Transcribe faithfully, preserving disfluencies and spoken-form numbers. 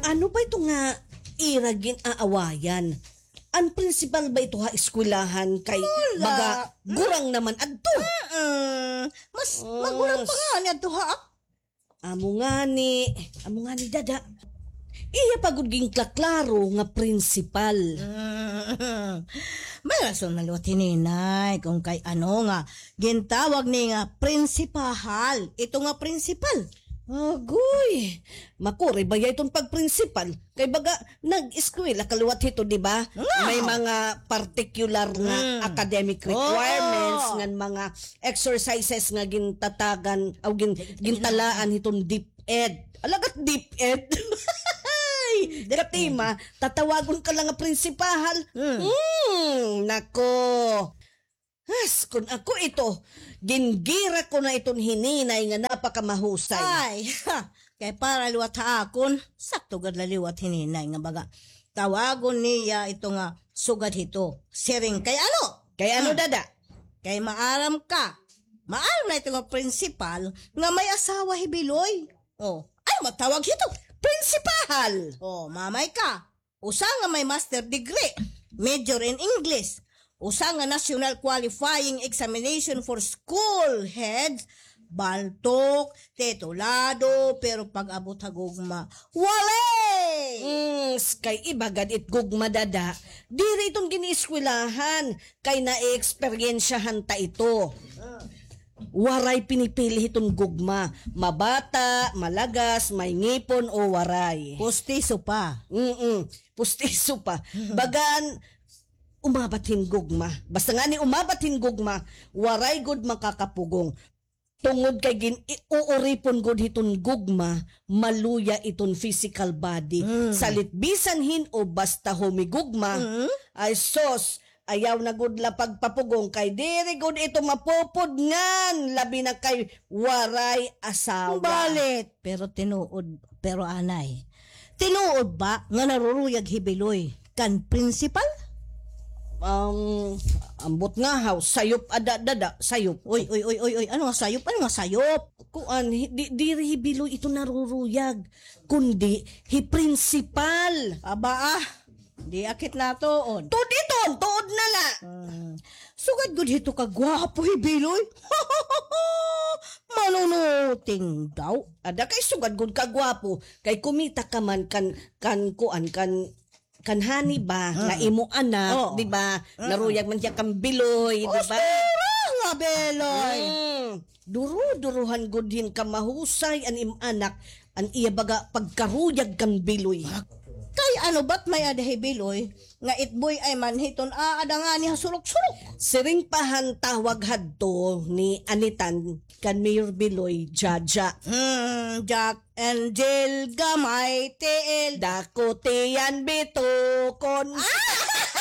Ano ba ito nga ira gin-aawayan? An principal ba ito ha eskwelahan kay Wala. baga gurang naman adto? Mm-mm. Mas magurang pa nga ni adto ha. Amo ngani, amo ngani dada. Iya pa gud ginkaklaro nga principal. Mm. May rason man liwat hi Ninay kung kay ano nga gintawag ni nga prinsipahal. Ito nga prinsipal. Agoy, makuri ba ya iton pagprinsipal? Kay baga, nag-eskwela ka liwat hito, di ba? Nga. May mga particular nga Mm. academic Oo. requirements, ngan mga exercises nga gintatagan, aw gin-, gintalaan hiton DepEd. Alagad DepEd. Katima, tatawagon ka la nga prinsipahal. Mm. Hmm, nako. Has, kun ako ito, gingira ko na iton hi Ninay nga napakamahusay. Ay, ha, kay para liwat ha akon, sakto gad la liwat hi Ninay nga baga. Tawagon niya ito nga sugad hito. Siring, kay ano? Kay ano, Hmm. dada? Kay maaram ka. Maaram na ito nga principal nga may asawa hi Biloy. Oh, ay, matawag hito. Principal! Oh, mamay ka. Usa nga may master degree, major in English. Usa nga national qualifying examination for school heads, baltok, titulado, pero pag-abot ha gugma, wala! Mm, s-, kay iba gad it gugma dada, diri iton gin-eskwelahan, kay naeeksperyensyahan ta ito. Waray pinipili hiton gugma, mabata, malagas, may ngipon o waray. Pustiso pa. Mm-mm. Pustiso pa. Bagan, umabat hin gugma. Basta ngani umabat hin gugma, waray gud makakapugong. Tungod kay gin-, i-, uuripon gud hiton gugma, maluya iton physical body. Mm. Salit bisan hin-o basta humigugma, Mm. ay sos, ayaw na gud la pagpapugong kay diri gud ito mapupudngan, labi na kay waray asawa. Balit, pero tinuod, pero anay. Tinuod ba nga naruruyag hi Biloy kan principal? Um, ambot nga haw, sayop ada, dada, sayop. Uy, uy, uy, uy, uy, ano nga sayop? Ano nga sayop? Kuan, hi-, di, diri hi Biloy ito naruruyag, kundi hi principal. Aba, ah. Di akit natuod. Tuod iton, tuod na la. Hmm. Sugad gud hito kagwapo hi Biloy. Manunuting daw. Ada kay sugad gud kagwapo. Kay kumita ka man kan, kan kuan, kan, kan Honey ba, nga Mm. imo anak, Oo. di ba? Mm. Naruyag man hiya kan Biloy, di ba? Ostera nga Biloy. Mm. Duro-durohan gud hin kamahusay an im anak, an iya baga pagkaruyag kan Biloy. Kay ano, bat may-ada hi Biloy nga it boy ay man hiton aada ngani ha surok-surok. Siring pa han tawag hadto ni Anitan kan Mayor Biloy, Jaja. Hmm, Jack and Jill, gamay tiil. Dako tiyan bitukon. Ah!